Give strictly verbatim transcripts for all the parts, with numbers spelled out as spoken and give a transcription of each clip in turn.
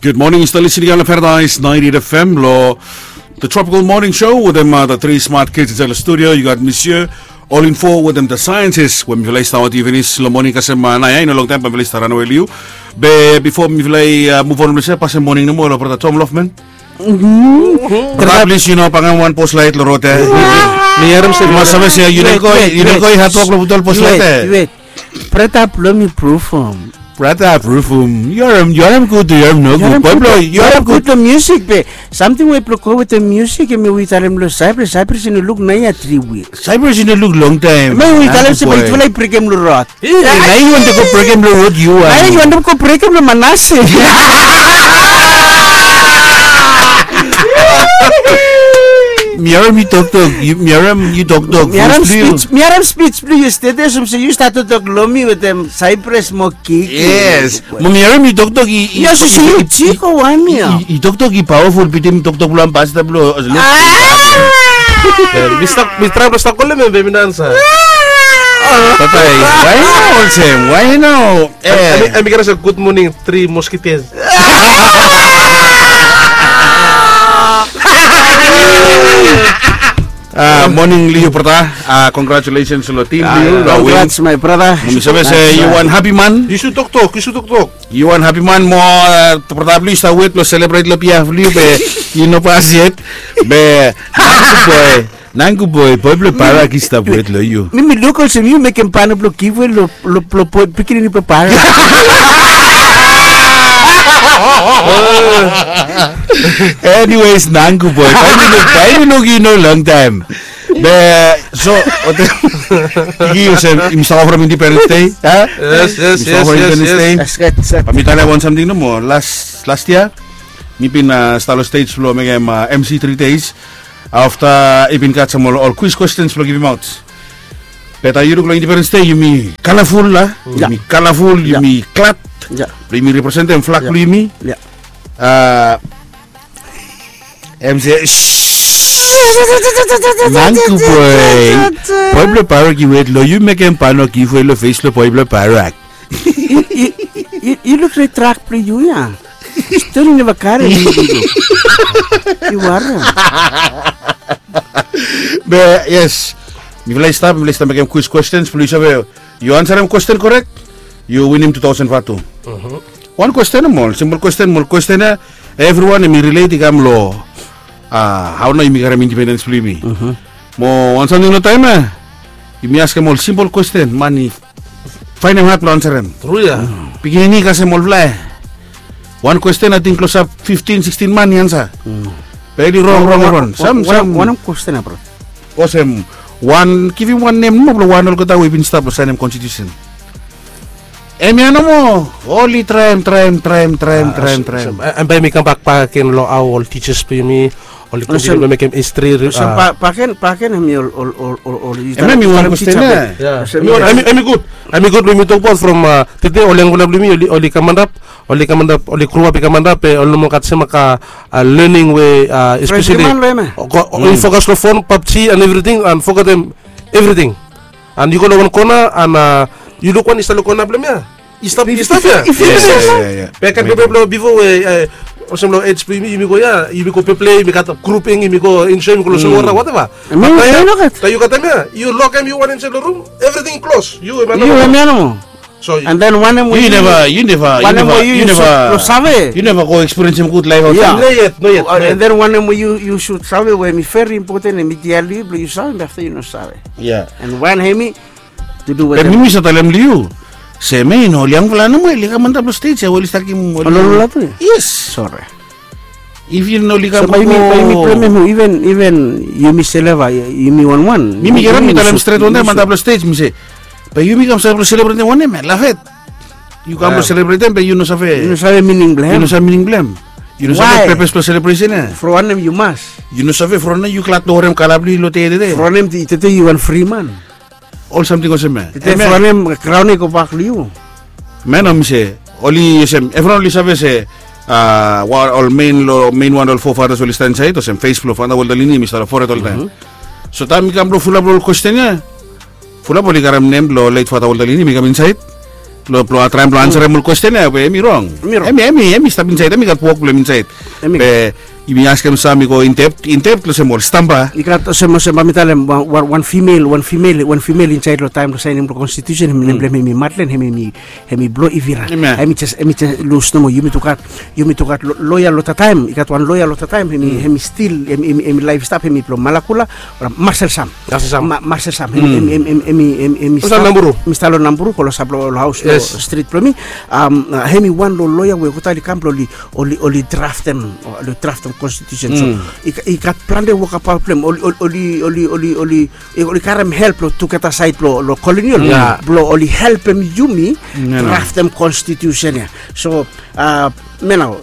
Gud moning, yu stap lisin long Paradise ninety-eight F M long The Tropical Morning Show wetem the three smart kids insait long studio. Yu gat Monsieur All Info wetem the scientist we mifala i stap wetem yu finis long moning kasem nao ya, i no longtaem bae mifala i stap ranawe long yu. Be bifo mifala i muv on long se, pasem moning nomo long brata Tom Lofman. Brata, plis yu no pangam wan poslaet long rod ya. Mi harim se, yu mas save se yu no go i hatwok long putum ol poslaet ya. Brata, blong mi prufum. Brata, prufum. Yu harim, yu harim gud, yu harim nogut. Boi blong yu, yu harim gud long musik be samting we blong go wetem musik, hemia we yu talem long Cyprus. Cyprus i no luk naoia tri wik. Cyprus i no luk longtaem. Hemia we yu talem se bae yutufala i brekem long rod. Naoia yu wantem go brekem long rod, yu wan. Naoia yu wantem go brekem long Manase. Mi harim yu toktok, mi harim yu toktok. Mi harim spij, mi harim spij blong yu stret olsem se yu stat toktok long mi wetem Cyprus mo kik. Yes. Mo mi harim yu toktok i, i, i, i, i toktok i pawaful bitim toktok blong ambasada blong. Mi traem blong stap kolem hem be mi no ansa. Papae, why nao olsem? Why nao? Em i, em i kere se gud moning, tri moskiters. Moning long yu brata. Congratulations long tim blong yu long win. Congrats my brother. Mi save se yu wan hapi man. Yu sud toktok, yu sud toktok. Yu wan hapi man mo brata blong yu i stap wet blong selebret long biaf blong yu be i no pas yet. Be nangku boe, nangku boe, boi blong Barak i stap wet long yu. Mi, mi luk olsem yu mekem pano blong giveaway long, long, long boi pikinini blong Barak. Anyways, nangku boe, bae mi luk, bae mi luk yu no longtaem. Be so, olsem yumi stap from Independence Day, a? Yes, yes, yes, yes. Bae mi talem wan samting nomo. Las, las yia mi bin stap long stej blong mekem MC three days. Afta i bin gat sam ol, ol kwis kwestens blong givimaot. Be taem yu luk long Independence Day yumi kalaful, a? Yumi kalaful, yumi glad blong yumi representem flag blong yumi. Em se, nangku boe, boi blong Barak i wet long yu, mekem pano giveaway long fes blong boi blong Barak. Yu, yu, yu, yu luk red truck blong yu ya. Stori neva karem. Yu warim. Be yes, mifala i stap, mifala i stap mekem kwis kwestens blong yu save, yu ansarem kwesten korek, yu winim tu taosen vatu. Wan kwesten nomo, simpol kwesten, ol kwesten ya evriwan hemi rilet i kam long hao nao yumi karem indipendens blong yumi. Mo wan samting long taem ya, yumi askem ol simpol kwesten, man i faenem had blong ansarem. Tru ya. Pikinini kasem olfala ya. Wan kwesten ating klosap fiftin sikstin man i ansa. Be oli rong, rong, rong. Sam, sam. Wanem kwesten ya bro? Olsem, wan, givim wan nem nomo blong wan olgeta we i bin stap blong saenem konstitusen. Hemia nomo, oli traem, traem, traem, traem, traem, traem. Em bae mi kambak bakegen long hao ol tijas blong yumi oli kontiniu blong mekem histri. Olsem bakegen, bakegen hemi ol, ol, ol, ol, ol. Hemia hemi wan kwesten ya. Hemi gud, hemi gud blong yumi tokbaot from tede ol yangfala blong yumi oli, oli kam antap, oli kam antap, oli groap i kam antap, be oli no moa gat sem kaen lening we espeseli oli fokas long fon, PUBG and evriting, and fogetem evriting. And yu go long wan kona and yu luk wan i stap long kona blong hem ya. I stap, i stap ya. Be kaen peple blong bifo we olsem long ej blong yumi, yumi go ya, yumi go peple, yumi gat grouping, yumi go enjoy, yumi go long solwota, wateva. Taem yu gat hem ya, yu lokem yu wan insaed long rum, evriting i klos. Yu hemia nomo. So and then wanem we yu neva, yu neva, yu neva, yu neva, yu neva go ekspiriensem gud laef aotsaed. No yet, no yet. And then wanem we yu, yu sud save we hemi veri impoten, hemi dia long yu blong yu save, be afta yu no save. Ya. And wan hemi to do wetem. Be mi mi save talem long yu se hemia i no ol yangfala nomo oli kam antap long stej ya we oli stat givim ol ololatu ya. Yes. Sore. If yu no oli kam, bae yumi, bae yumi blemem hu? Iven, iven yumi seleva, yumi wanwan. Mi mi karem mi talem stret wantaem antap long stej, mi se, bae yumi kam save blong selebretem wanem ya, lafet. Yu kam blong selebretem be yu no save, yu no save mining blong hem. Yu no save mining blong hem. Yu no save pepes blong selebresen ya. From wanem yu mas? Yu no save from wanem yu glad blong werem kala blong yu long tede. From wanem tede yu wan fri man? Ol samting olsem ya. From wanem kraon i gobak long yu? Man, mi se oli olsem, evriwan oli save se ol mein, long mein wan ol forefathers oli stap insaed, olsem fes blong Fata Walter Lini hemi stap long fored oltaem. So taem i kam blong fulap long ol kwesten ya, fulap oli karem nem blong late Fata Walter Lini hemi kam insaed. Blong traem blong ansarem ol kwesten ya we em i rong. Em i stap insaed, em i gat wok blong em insaed. Be yumi askem sam i go indept indept olsem ol stamba. I gat olsem olsem bae mi talem wan fimel wan fimel wan fimel insaed long taem blong saenem long konstitusen, nem blong em hem i madlen, hem i hem i blo ivira. Hem i jes hem i jes lus nomo. Yumi tu gat yumi tu gat loya long tataem, i gat wan loya long tataem hem i hem i stil hem i hem i laef i stap hem i blo malakula. Marsel sam. Marsel sam. Hem i hem i hem i hem i hem i stap long namburu, kolosap long haos long strit blong mi. Hem i wan long loya we olgeta oli kam blong oli oli draftem oli draftem konstitusen. So i gat plante wokabaot blong hem oli oli oli oli oli oli karem help long tugeta saed blong kolonial blong oli helpem yumi draftem konstitusen ya. So me nao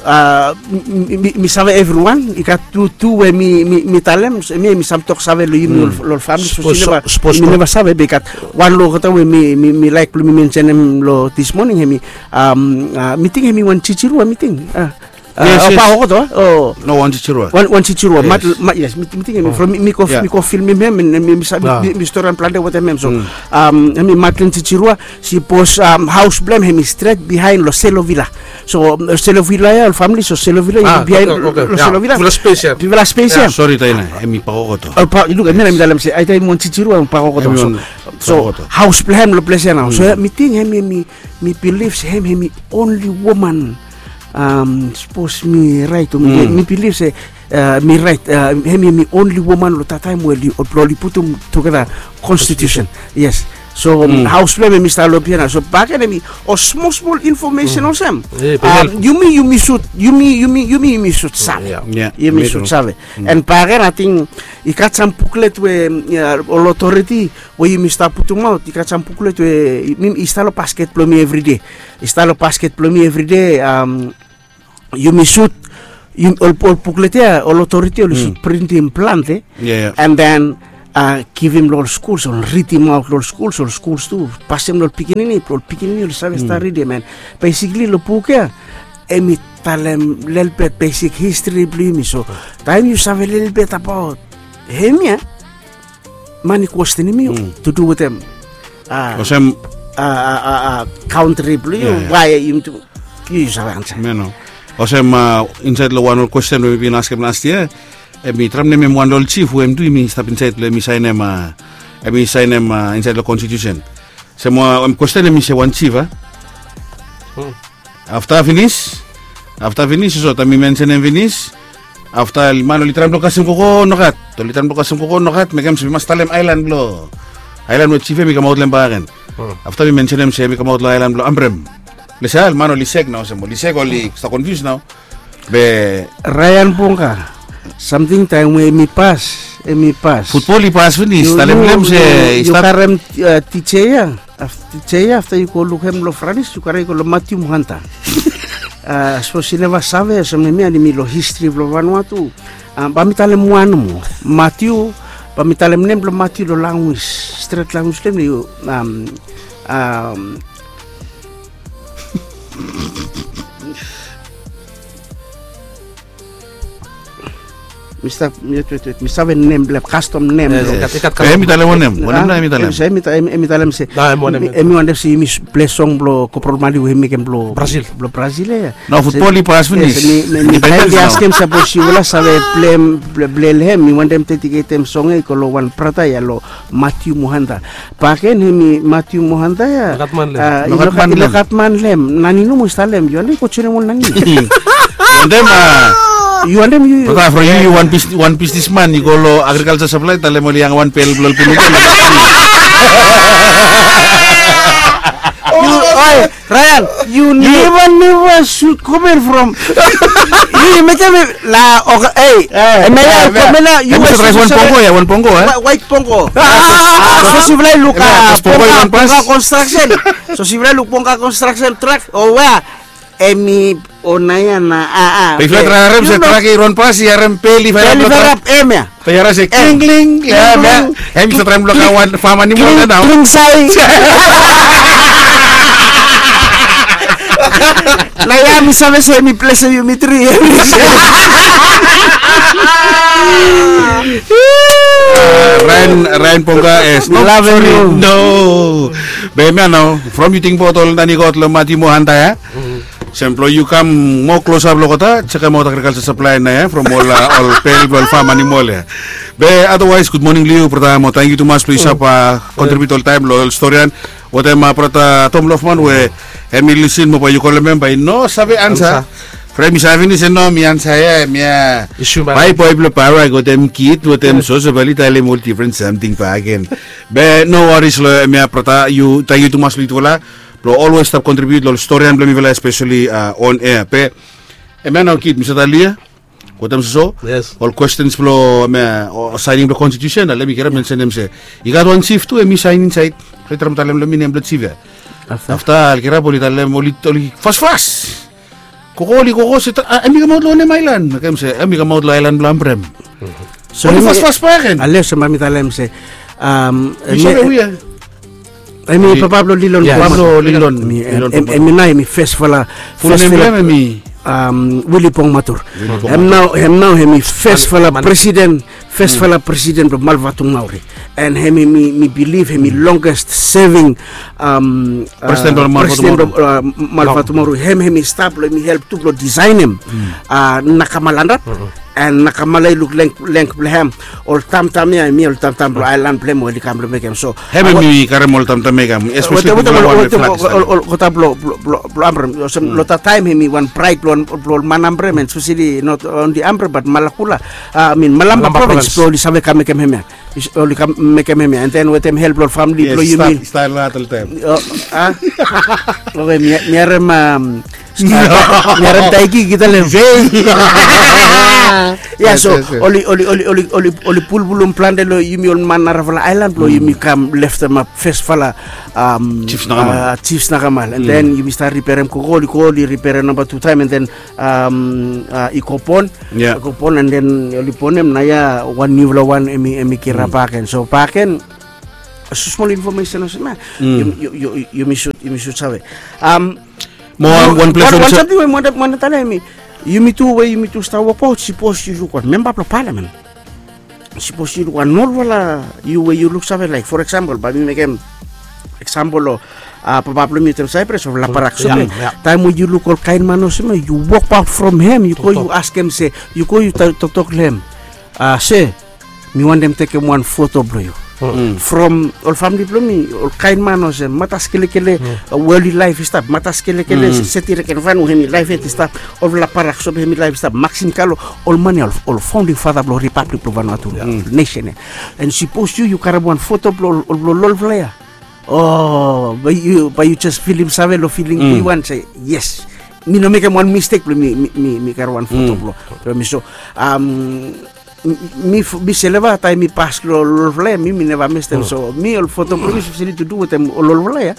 mi save evriwan i gat tu tu we mi mi talem mi mi sam tok save long yumi long ol famili. Sapos mi neva save be i gat wan long olgeta we mi mi laek blong mi mensenem long dis moning hem i mi ting hem i wan jijirua mi ting. Paokoto. No wan jijirua. Wan jijirua. Yes mi ting hem i from mi go mi go filmim hem mi save mi storian plante wetem hem. So hem i madlen jijirua. Sipos haos blong hem hem i stret bihaen long selovila. So selovila ya ol famili so selovila i bihaen long selovila. Bivela spes ya. Sori taina hem i paokoto. Luk em ya na mi talem se aita hem i wan jijirua hem i paokoto. So haos blong hem long ples ya nao so mi ting hem hem i mi bilif se hem hem i onli woman. Sapos mi raet o mi bilif se mi raet hem hem i onli woman long tataem we oli putum tugeta konstitusen. Yes. So haos blong hem hem i stap long bihaen ya so baken hem i ol smol smol infomesen olsem yumi yumi sut yumi yumi yumi yumi sut save. Yumi sut save. And baken ating i gat sam buklet we ol otoriti we yumi stap putumaot i gat sam buklet we i stap long basket blong mi evride. I stap long basket blong mi evride. Yumi sut ol buklet ya ol otoriti oli sut printim plante. And then givim long ol skuls ol ridimaot long ol skuls ol skuls tu pasem long ol pikinini blong ol pikinini oli save stap ridim. And besikli long buk ya em i talem lelebet besik histri blong yumi so taem yu save lelebet abaot hemia man i kwestenim yu tu du wetem olsem kauntri blong yu wae yumi tu yu save ansa. Olsem insaed long wan ol kwesten we mi bin askem las yia em i traem nemem wan long ol jif we em tu yumi stap insaed long em i saenem em i saenem insaed long konstitusen. Olsem wan kwesten em i se wan jif a afta finis afta finis i so taem mi mensenem finis afta man oli traem blong kasem koko nogat oli traem blong kasem koko nogat mekem se mi mas talem aelan blong aelan we jif em i kamaot long em baken. Afta mi mensenem se em i kamaot long aelan blong ambrem. Lesa man oli sek nao olsem oli sek oli stap konfius nao. Be raean bonga samting taem we em i pas em i pas futbol i pas finis talem long em se i stap karem tija ya. Tija ya afta yu go lukim long franis yu karem i go long matiu mohanta. Sapos yu neva save olsem nem ya nimi long histri blong vanua tu. Bae mi talem wan nomo matiu bae mi talem nem blong matiu long languis stret languis blong em na yu mi save nem blong kastom nem blong em i talem wanem wanem na em i talem se em i talem se em i wantem se yumi ples song blong koprol mali we i mekem blong brasil ya. Nao futbol i pas finis. Mi taem i askem sapos yufala save plem blong hem mi wantem dediketem song ya i go long wan brata ya long matiu mohanda. Baken hem i matiu mohanda ya. I no gat man long em nani nomo i stap long em yu wantem go joinim ol nani. Yu wantem yu brata from yu yu wan bisnisman i go long agrikalsa saplai talem ol yang wan pel blong ol puluka. Rayan, yu neva neva sut komen from yu yu mekem la oke ei. Em ya ya komen na yu wait wan pongo ya wan pongo e. Wait pongo. So sivlai luk pongo konstraksen. So sivlai luk pongo konstraksen trak o wea em i ona ya na a a. Pe i flat rarem se trak i ron pas i harem pel i flat rap em ya. Pe i harem se kling kling. Em i sa traem blok a wan fam animal na nao. Kling sai. Na ya mi save se mi ples yu mi tri. Rain, Rain Ponga, yes. No, sorry. No. Be hemia nao, from yu tingbaot ol nani yu gat lo Mati mo Hanta ya. Sem blo yu kam moa klosap lo olgeta, jekemaot agrikalja saplae nao ya from ol, ol pel blo ol fam animol ya. Be otherwise, gud moning lo yu brata mo tangkiu tumas blo yu save kontribiut oltaem lo ol storian. Wetem brata Tom Lofman we hemi lisin mo bae yu kolem hem, bae i no save ansa. From hemi save finis, no, mi ansa ya, hemia. Bae boe blo Parak wetem kid wetem Joseph oli talem ol difren samting bakegen. Be no waris lo hemia brata, yu, tangkiu tumas lo yutufala blo olwes stap kontribiut lo ol storian blo mifala, espeseli on air. Be hemia nao kid, mi save talem ya wetem soso ol kwestens blo hemia, o saening blo konstitusen, ale mi kirap mensenem se i gat wan jif tu hemi saen insaed. Rait, ra mi talem lo mi nem blo jif ya. Afta oli kirap oli talem, oli, oli fasfas. Koko oli koko se, a, hemi kamaot lo wanem aelan? Mekem se hemi kamaot lo aelan blo Ambrem. So oli fasfas bakegen. Ale olsem bae mi talem se, um, hemi papa blo Lilon. Papa blo Lilon. Hemi nao hemi fesfala, fes blo hem hemi Wili Pongmatur. Hem nao, hem nao hemi fesfala presiden, fesfala presiden blo Malvatumauri. And hemi, mi, mi bilif hemi longest serving, um, presiden blo Malvatumauri. Hem, hemi stap lo hemi help tu blo disaenem Nakama Landrap. And Nakama, i luk length blo hem, ol tamtam ya hemi ol tamtam blo aelan blo hem we oli kam blo mekem. So hem, hemi karem ol tamtam ya i kam, espeseli wetem ol, olgeta blo, blo Ambrem. Olsem lo that taem hemi wan praed blo ol man Ambrem, and espeseli not only Ambrem but Malakula, I mean Malampa provins, blo oli save kam mekem hemia. Oli kam mekem hemia, and then wetem help blo ol famili blo yumi. Oke, mi harem, um, mi harem Taiki ki talem. Ya, so oli, oli, oli pulpulum plante lo yumi ol man narafala aelan blo yumi kam leftemap fesfala, um, jif Nakama. And then yumi stap riperem koko, oli go oli riperem namba tu taem, and then, um, i go bon. I go bon, and then oli bonem, naoia wan niufala wan hemi, hemi kirap bakegen. So bakegen, so smol infomesen olsem ya. Yumi sud, yumi sud save. Um, mo wan, wan samting we mi wantem talem, yumi tu, we yumi tu stap wokbaot, sipos yu luk wan memba blo palamen, sipos yu luk wan olfala, yu, we yu luksave, laek, for example, bae mi mekem example lo, a, papa blo mi wetem Saipres, olfala Parak Sope. Taem we yu luk ol kaen man olsem ya, yu wokbaot from hem, yu go yu askem se, yu go yu toktok lo hem, a, se mi wantem tekem wan foto blo yu. From ol famili blo mi, ol kaen man olsem Matas Kelekele, we oli laef i stap, Matas Kelekele, Seti Rekenvanu, hemi laef yet i stap, olfala Parak Sope, hemi laef i stap, Maksim Kalo, ol man ya ol, ol faonding fata blo ripablik blo Vanuatu, nesen ya. And sipos yu, yu karem wan foto blo ol, ol, blo olfala ya, o, bae yu, bae yu jes filim save lo filing blo yu wan se, yes, mi no mekem wan mistek blo mi, mi, mi karem wan foto blo, blo mi. So, um, mi, mi seleva taem mi pas lo olfala ya, mi, mi neva mestem. So mi ol foto blo mi espeseli tu du wetem ol olfala ya.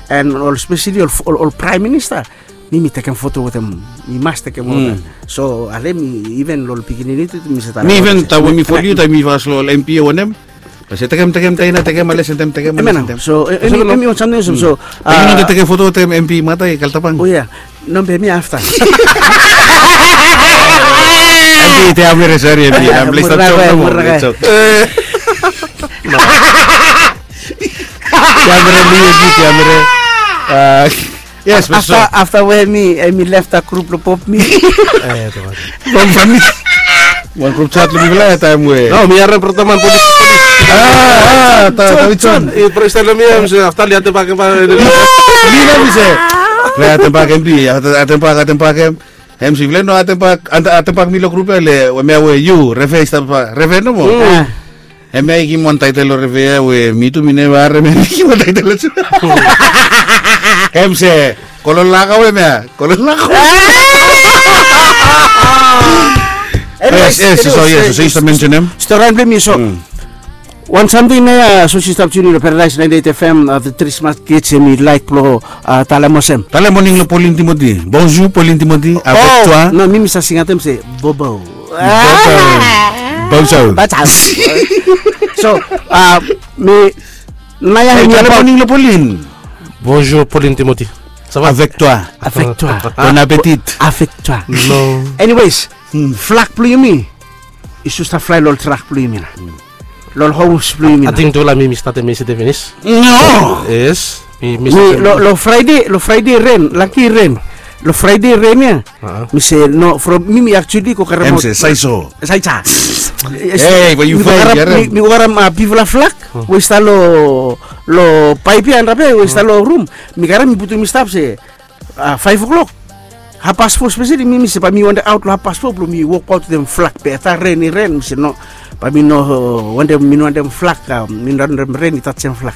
And ol espeseli ol, ol, ol praem minista, mi, mi tekem foto wetem, mi mas tekem olgeta. So ale mi iven lo ol pikinini tu, mi save talem. Mi iven taem we mi folem yu, taem mi pas lo ol MP ya wanem, se tekem, tekem, taem i tekem, ale se tekem, tekem, ale se tekem. So hemi wan samting olsem, so, a, yu no tekem foto wetem MP Matai Kaltapang? O ya. No, be mi afta. MP Teamere, sori MP, I'm late. Jok, jok. Teamere, mi, MP Teamere. A, yes, be so afta we mi, hemi lefta grup lo Bob, mi. Wan grup chat lo mifala ya taem we, no, mi harem brata man polis, polis. A, a, Davidson. I presiden lo mi, hem se afta oli atem bak, mi, mi se, oli atem bak MP, atem bak, atem bak hem. Hem se ifala no atem bak, atem bak mi lo grup ya, le hemia we yu refer i stap, refer nomo. Hemia i givim wan taetel lo refer ya we mi tu mi neva harem hemia i givim wan taetel lo. Hem se, kolon lako hemia, kolon lako. Yes, yes, so yes, so yu stap mensenem storian blo mi, so wan samting nao ya, so si stap tiuni lo Paradise ninety-eight FM, a, the Three Smart Kids, hemi laek blo, a, talem olsem. Talem moning lo Pauline Timothy. Bonjour Pauline Timothy, avec toi. No, mi, mi save singatem se bobo. Bobo. Bonjour. So, a, mi, nao ya, hemi talem moning lo Pauline. Bonjour Pauline Timothy. Ça va? Avec toi. Avec toi. Bon appétit. Avec toi. No. Anyways, flag blo yumi i save stap flae lo ol trak blo yumi nao. Long homes blong yumi nao. Ating tufala mi mi statem yestede finis. No. Yes. Mi mi statem. Long Friday, long Friday ren, laki ren. Long Friday ren ya. Mi se no, from mi mi actually go karem. Em se saiso. Saiso. Hey, but you mi go karem bifala flak we i stap long paip ya, andrape we i stap long rum. Mi karem, mi putum i stap se a, faef o'klok. Happas fo speseli, mi mi se bae mi wantem aot long happas fo blong mi wokbaot wetem flak, be afta ren i ren, mi se no, bae mi no wantem, mi no wantem flak, a, mi no wantem ren i tajem flak.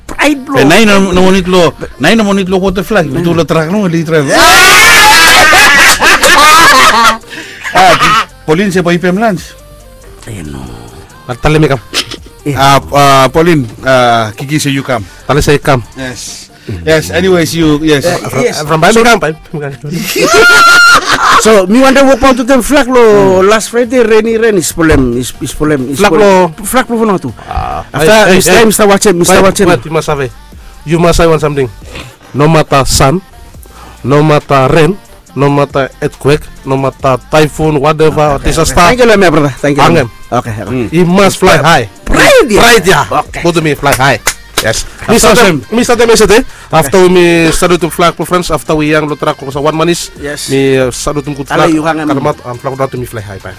Praed blong. Be naoia no moa nid long, naoia no moa nid long wotem flak, yu tu long trak nomo oli draev. A, Polin se bae i pem lans. E no. Talem i kam. A, Polin, a, Kiki se yu kam. Talem se i kam. Yes. Yes, anyways, you, yes. From bae mi kam, bae mi kam. So mi wantem wokbaot wetem flak long las Fraede, ren i ren, i spolem, i spolem, i spolem. Flak blong, flak blong Vanuatu. Afta mi stap, mi stap wajem, mi stap wajem. Wait, wait, yu mas save. Yu mas save wan samting. Nomata san, nomata ren, nomata earthquake, nomata typhoon, whatever, disaster. Tangkiu long mi, brata. Tangkiu long mi. Hangem. Oke, oke. I mas fly high. Praed ya. Praed ya. Oke. Go to mi fly high. Yes. Mi statem, mi statem yestede. Afta we mi salutum flak blong France, afta we i hang long trak olsem wan manis. Yes. Mi salutum gud flak. Ale yu hangem. Karem aot, am, flak blong Vanuatu mi fly high bae.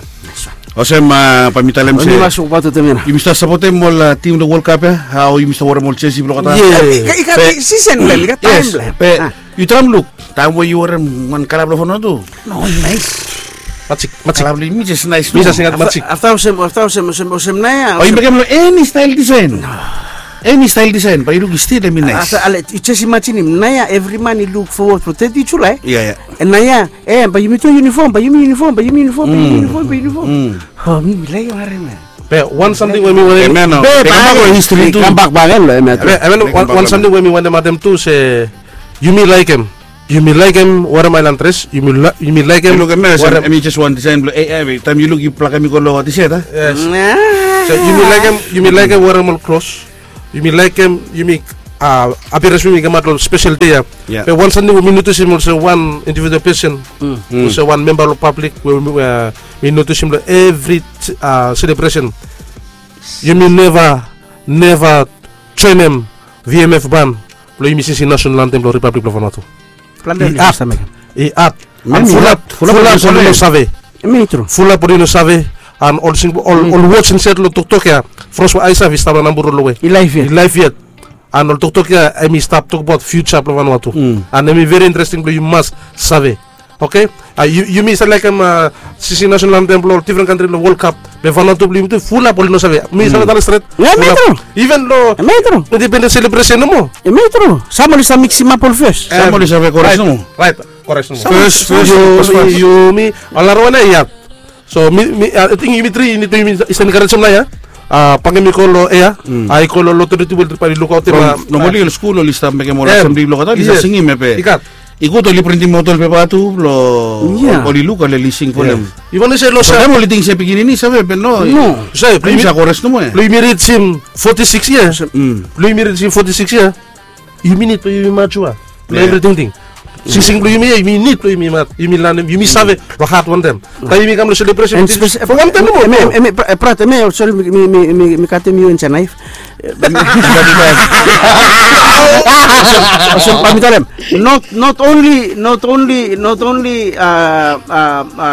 Olsem, a, bae mi talem se. Yumi stap sapotem ol, a, tim long World Cup ya. Hao yumi stap werem ol jesi blong olgeta. Yes. I gat, i gat sisen blong hem, i gat taem blong hem. Be yu traem luk, taem we yu werem wan kala blong Vanuatu. No, naes. Majik, majik. Kala blong yumi jes naes. Mi jes singaot majik. Afta olsem, afta olsem, olsem, olsem naoia. Bae yu mekem long eni stael disaen. Eni stael disaen, bae yu luk i stil hemi naes. Afta ale, yu jes imajinim, naoia evri man i luk fowod long teti Julae. Ya, ya. Naoia, e, bae yumi tu yunifom, bae yumi yunifom, bae yumi yunifom, bae yumi yunifom, bae yumi yunifom. O, mi mi laekem harem ya. Be wan samting we mi wantem. Be, be kambak long histri tu. Kambak bak gen long hemia tu. Be, be wan samting we mi wantem adem tu se, yumi laekem, yumi laekem werem aelan dres, yumi laekem. Yu luk hemia, hemi jes wan disaen blong, e, e, taem yu luk yu plakem i go long tishet, a? Yes. So yumi laekem, yumi laekem werem ol klos. Yumi laekem, yumi, a, apirens blong yumi kamaot long spesel dei ya. Be wan samting we mi notisim olsem wan individual pesen, olsem wan memba long pablik we mi notisim long evri, a, selebresen. Yumi neva, neva joenem V M F ban blong yumi singsim nasonal antem blong Ripablik blong Vanuatu. I at, i at. Fulap, fulap oli no save. Hemi tru. Fulap oli no save. An ol sing, ol, ol woj insaed long toktok ya, from we ae save, i stap long namba ol we i laef yet. I laef yet. An ol toktok ya hemi stap tokbaot fiuja blong Vanuatu. An hemi veri interesting blong yu mas save. Oke? A, yu, yumi save laekem, a, singsim nasonal antem blong ol difren kantri long World Cup. Be Vanuatu blong yumi tu fulap oli no save. Mi save talem stret. Hemi tru. Iven long independens selebresen nomo. Hemi tru. Sam oli save miksimap ol fes. Sam oli save kores nomo. Raet, raet. Kores nomo. Fes, fes, fes. Yumi, ol nara wan ya. So mi, mi, a, ating yumi tri, yumi tri, yumi save enkarejem naoia. A, bangem i go long ea. A, i go long lotori tu we oli bae lukaotem. From, a, normali ol skul oli stap mekem ol asembli blong olgeta, oli save singim ya be. I gat. I gud oli printim aot ol pepa tu blong oli luk, oli sing folem. Yu wantem se long taem oli ting se pikinini save be no. No. Save, blong yumi save kores nomo ya. Blong yumi rijim foti sikis yia. Blong yumi rijim foti sikis yia. Yumi nid blong yumi matua long evri tingting. Singsing blong yumi ya, yumi nid blong yumi mat, yumi lanem, yumi save long hat wantem. Taem yumi kam long selebresen, fo wantem nomo. Hemia, hemia, brat, hemia, sori, mi, mi, mi, mi katem yu insaed naef. Olsem bae mi talem, not, not only, not only, not only, a, a, a,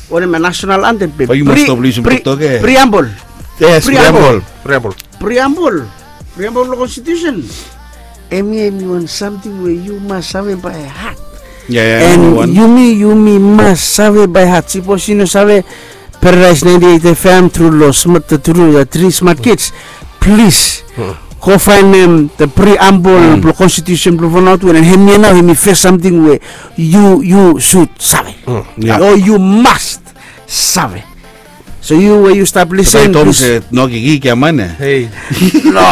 wanem, a nasonal antem be preamble. Yes, preamble. Preamble. Preamble. Preamble blong konstitusen. Hemia hemi wan samting we yu mas save bae hat. An yumi, yumi mas save bae hat. Sipos yu no save Paradise ninety-eight F M tru long smat, tru, a, tri smat kids. Plis go faenem the preamble blong konstitusen blong Vanuatu, an hemia nao hemi fes samting we yu, yu sud save. O yu mas save. So yu we yu stap lisin, plis. No, Kiki, kiaman ya. Hei. No.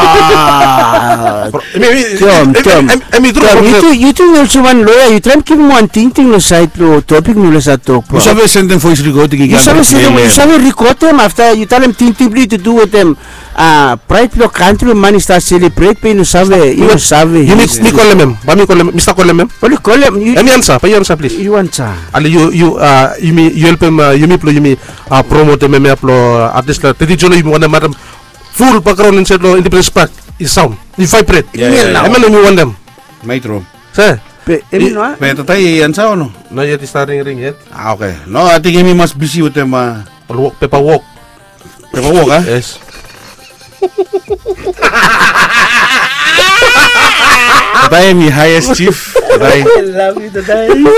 Tiom, tiom. Yu tu, yu tu, yu olsem wan loea, yu traem givim wan tingting long saed long topik mi save tok. Yu save sendem voes rikoding, yu save sendem, yu save rikodem afta yu talem tingting blong yu tu du wetem, a, praed blong kantri we man i stap selebret be yu no save, yu no save. Yumi, mi kolem hem, bae mi kolem hem, mi stap kolem hem. Oli kolem, yu. Hemi ansa, bae yu ansa plis. Yu ansa. Ale yu, yu, a, yumi, yu helpem, a, yumi blong yumi a, promotem hemia blong, a, at least long teti Julae yumi wantem matem Ful bakgraon insaed long Independence Park i saon, i vaebret. Hemia nao. Hemia nao mi wantem. Metro. Se. Be hemi no, a? Be tata i ansa o no? No yet, i stap ringring yet. A, oke. No, ating hemi mas bisi wetem, a, ol wok, pepa wok. Pepa wok, a? Yes. Tata hemi highest chief. Tata hemi. I love you, tata hemi.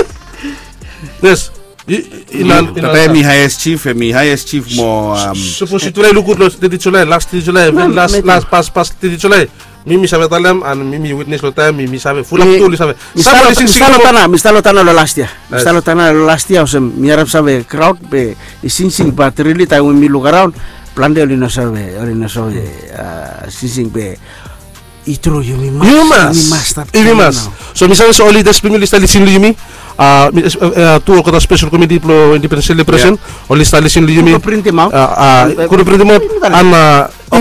Yes. Tata hemi highest chief, hemi highest chief mo, um, sapos yu trae luk gud long teti Julae, las teti Julae, las, las, pas, pas teti Julae. Mi, mi save talem, an mi, mi witnes long taem, mi, mi save, fulap tu oli save. Mi stap long tana, mi stap long tana long las yia. Mi stap long tana long las yia olsem mi harap save kraod be i singsing, bat rili taem we mi luk araon, plante oli no save, oli no save, a, singsing be i tru, yumi mas, yumi mas, yumi mas. So mi save se ol lidas blong yumi oli stap lisin long yumi. A, mi, a, tu olgeta spesel komiti blong Independens selebresen oli stap lisin long yumi. Go printim aot. A, go printim aot. An, a, go,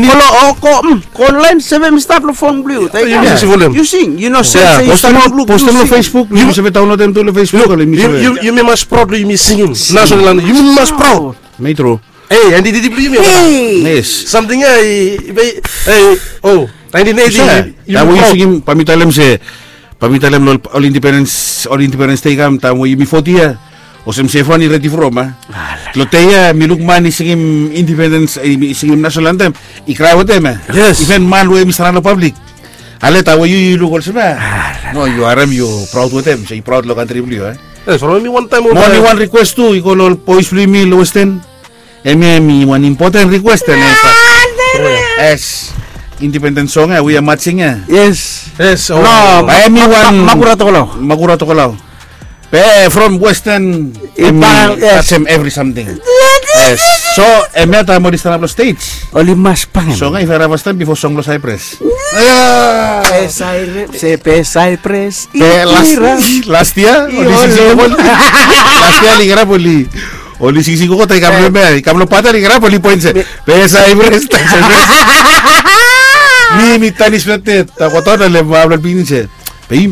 go onlaen, save mi stap long fon blong yu. Yu sing, yu no save se yu stap lukluk. Postem long Facebook, yumi save daonlodem tu long Facebook. Yumi mas praod long yumi singim nasonal antem. Yumi mas praod. Metro. Ei, aenteti blong yumi. Yes. Samting ia i, i, o, naentin eiti. Taem we yu singim, bae mi talem se, bae mi talem long ol Independens, ol Independens Dei i kam, taem we yumi foti yia, olsem Stefan i redi from, a. Long dei ia mi luk man i singim Independens, i singim nasonal antem, i krae wetem, a. Yes. Iven man we hemi stap long pablik. Ale taem we yu, yu luk olsem ia. No, yu harem, yu praod wetem, so yu praod long kantri blong yu, a. Yes, from mi wantaem. Mo oli wan rikwes tu, i go long ol boes blong yumi long Westen. Hemia hemi wan impoten rikwes ia. Yes. Independens song ia we are marching ia. Yes. Yes. Bae hemi wan makura tokolao. Makura tokolao. Be from Westen, hemi tajem evri samting. Yes. So hemia taem oli stanap long stej, oli mas bangem. Song ia i fara fastaem bifo song blong Saipres. Be Saipres, be Saipres. Be las yia oli, las yia oli kirap oli Oli singsing gogo taem i kam long hemia, i kam long bata, i kirap oli poen se, be Saipres, be Saipres. Mi, mi tanis blong tet, taem gogo taem long hemia blong pikinini se, be yu